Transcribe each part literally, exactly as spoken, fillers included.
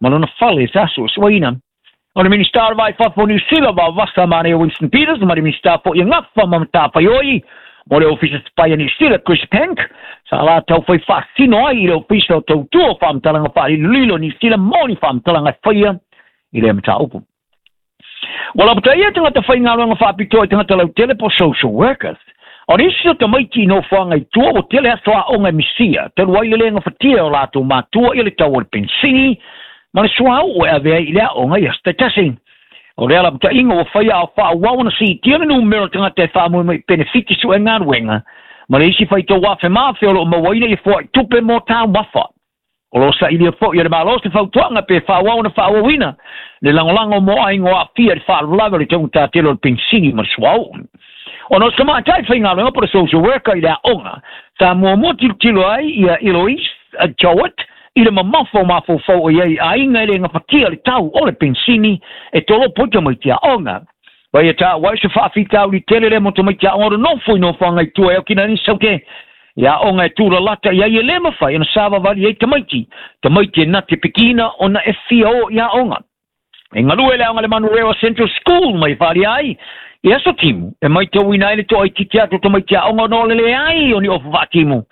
Ma lona fale sa suesueina. O le Minista o le Va i Fafo o Niu Sila Vaovasa Manaia Winston Peters ma le Minista fo'i e Gafa ma Matafaioi mo le Ofisa Sipai a Niu Sila Chris Penk sa latou fai faasino ai i le Ofisa o Tautua o Faamatalaga Faalilolilo o Niu Sila mo ni faamatalaga e faia i lea mataupu. Ua lapataia tagata faigaluega faapitoa i tagata lautele po o social workers. O nisi o tamaiti i nofoaga i tua ua tele aso aoga e misia, talu ai le le gafatia e o latou matua ia le tau o le penisini ma le suauu e ave ai i le aoga i aso taitasi. O lea lapataiga ua faia a o faaauau ona siitia le numera o tagata e faamoemoe i penefiti su'e galuega ma le isi faitau afe ma afe o loo mauaina ia foa'i tupe mo taumafa. O lo o sailia fo'i e le Malo se fautuaga pe faaauau ona faaauauina le lagolago mo aiga o aafia i le faalavelave o le taugatā tele o le penisini ma le suauu. Ona o se tamaitai faigaluega po o le social worker i le aoga, sa muamua tilotilo ai ia Eloise Jowett i le mamafa o mafaufau o i ai i aiga e le gafatia le tau o le penisini e tolopo ai tamaiti aoga. Ma ia taua ai se faafitauli tele lea mo tamaiti aoga o le nofo i nofoaga i tua e okina ai ni saute i aoga e tulalata i ai e le mafai ona savavali ai tamaiti, tamaiti e nate pikina ona e fia o i aoga. E galue le aoga le Manurewa Central School mai faaalia ai i aso timu e maitauina ai le toaitiiti atu o tamaiti aoga ona o le leai o ni ofu faatimu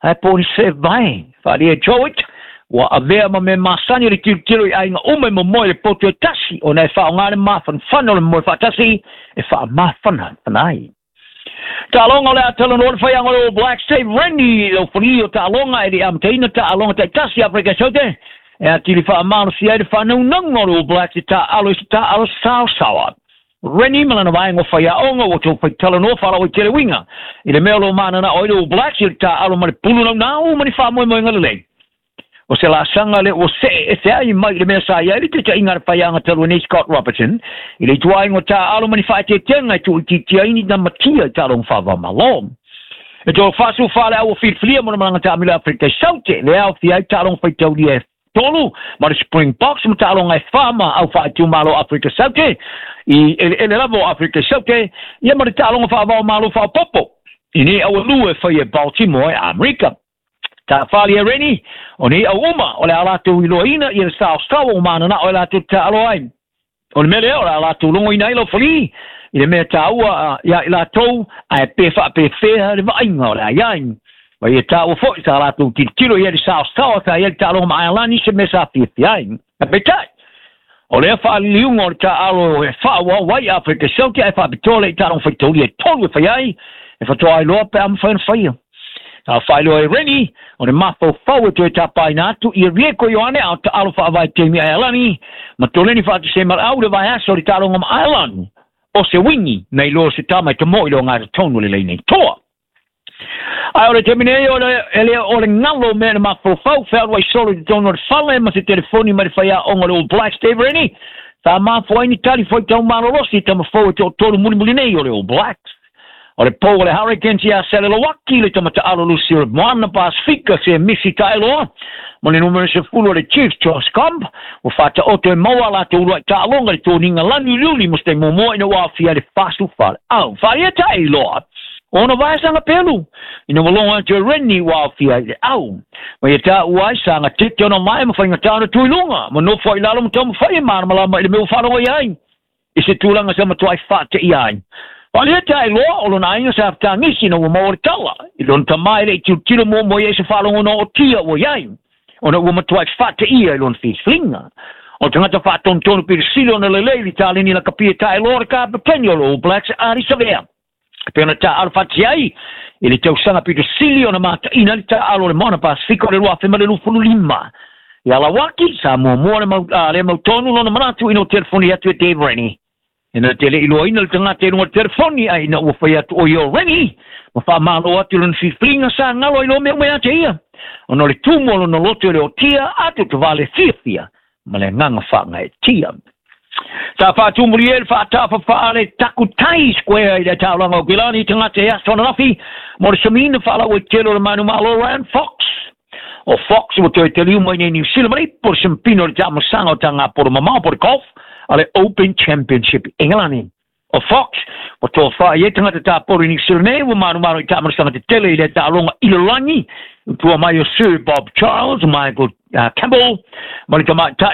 ae po o ni sevae. Faaalia e Jowett ua avea ma mea masani le tilotilo i aiga uma e momoe i le poto e tasi ona e faaaoga le mafanafana o le momoe faatasi e faamafanafana ai. Taaloga o le a talanoa le faiaga o le All Blacks Dave Rennie i laufali o taaloga e le i amataina taaloga taitasi a Afrika Saute e atili faamalosia ai le faanaunauga o le All Blacks i taaalo i se taaalo saosaoa. Rennie ma lana vaega o faiaoga ua toe faitalanoa faalauaitele uiga i le mea o lo o mananao ai le All Blacks i le taaalo ma le pulu naunau ma ni faamoemoega lelei. O se laasaga lea ua see ese ai mai i le mea sa i ai le taitaiga a le faiaga talu ai nei Scott Robertson i le ituaiga o taaalo ma ni faaeteetega e tuuitiitia ai ni namatia i taaloga faava-o-Malo. E toe faasufa le au ua filifilia mo le malaga taamilo i Afrika i Saute lea aofia ai taaloga faitaulia e tolu ma le Springboks ma taaloga e fa ma au faaitumalo o Afrika Saute i eleele lava o Afrika i Saute ia ma le taaloga faava-o-Malo faaopoopo i nei au e lua e faia e Baltimore e Amerika. Tafali e Rennie, o nei au uma o le a latou iloaina ia le saosaoa ua mananao e latou te taalo ai. O le mea lea o le a latou logoina ai laufali i le mea taua ia i latou ae pe faapefea le vaaiga o le a i ai. Ma ia taua foi sa latou tilotilo i ai le saosaoa sa i ai le taaloga ma Aelani se mea sa fiafia ai. Ae peitai, o lea faaliliuga o le taaalo e faaauau ai Afrika Saute ae faapitoa lea i taaloga faitaulia e tolu e fai ai, e faatoa iloa pe a mafai ona faia. Sa faailoa e Rennie, o le mafaufau e toe tapaina atu ia Rieko Ioane a o taalo faavaitaimi Aelani ma Toleni Faatusemalau i le vaiaso o le taaloga ma Ireland o se uigi nai lo se tama e tamo'i le ogatotonu o le laina i toa. Ae o le taimi nei o le, e le o le galo o mea na mafaufau fealuai solo i totonu o le fale ma se telefoni mai le faiaoga o le All Blacks Dave Rennie sa mafua ai ni tali faitau malolosi i tama fou e toatolu mulimuli nei o le All Blacks. O le pou o le Hurricanes ia Selelowaki le tama taalo lusi o le Moana Pasifika se Misi Taeloa ma le numera sefulu o le Chiefs Josh Combe ua faataoto e maua a latou uluai taaloga i le toniga lanu uliuli mo se taimi muamua ina ua aofia ai le fasu faleau. Faia Taeloa ona vaesaga pelu ina ua logo atu e Rennie ua aofia ai le au. Ma ia taua ai sa gatete ona mae ma faigata ona tu i luga ma nofo ai i lalo ma taumafai e malamalama i le mea ua faalogo i ai i se tulaga sa matuai faateia ai. Faaalia Taeloa o lona aiga sa fetagisi ina ua maua le tala i lona tamā e le i tilotilo muamua i ai se faalogo na ootia ua i ai ona ua matuai faateia i lona filifiliga. O le tagata faatonutonu pilisili ona lelei i le taleni lakapi e Taeloa le kapeteni o le All Blacks Ardie Savea. E pei ona taaalo faatasi ai i le tausaga pito sili ona mataina ai le taaalo o le Moana Pasifika o le lua afe ma le luafulu lima. Ia Lauaki, sa muamua le mau, a, le mautonu lona manatu ina ua telefoni atu e Dave Rennie. Ina te le iloaina le tagata i luga o le telefoni ae ina ua fai atu o ia o Rennie ma faamalo atu i lona filifiliga sa galo ai loa mea uma ia te ia ona o le tumu o lona loto e le otia atu tavale fiafia ma le agaga faagaeetia. Sa faatumulia ai le faatafafaa le Takutai Square i le taulaga o Kilani i tagata e aso ananafi mo le samiina faalauaitele o le manumalo Ryan Fox. O Fox ua toe taliu mai nei Niu Sila ma le ipu o le siampina o le taamasaga o tagapolo mamao po o le golf a le Open Championship i Engelani. O Fox ua tofa i ai tagata tapolo i Niu Sila nei ua manumalo i taamasaga tetele i le taaloga ilolagi i tua mai o Sir Bob Charles, Michael uh, Campbell ma le tamaitai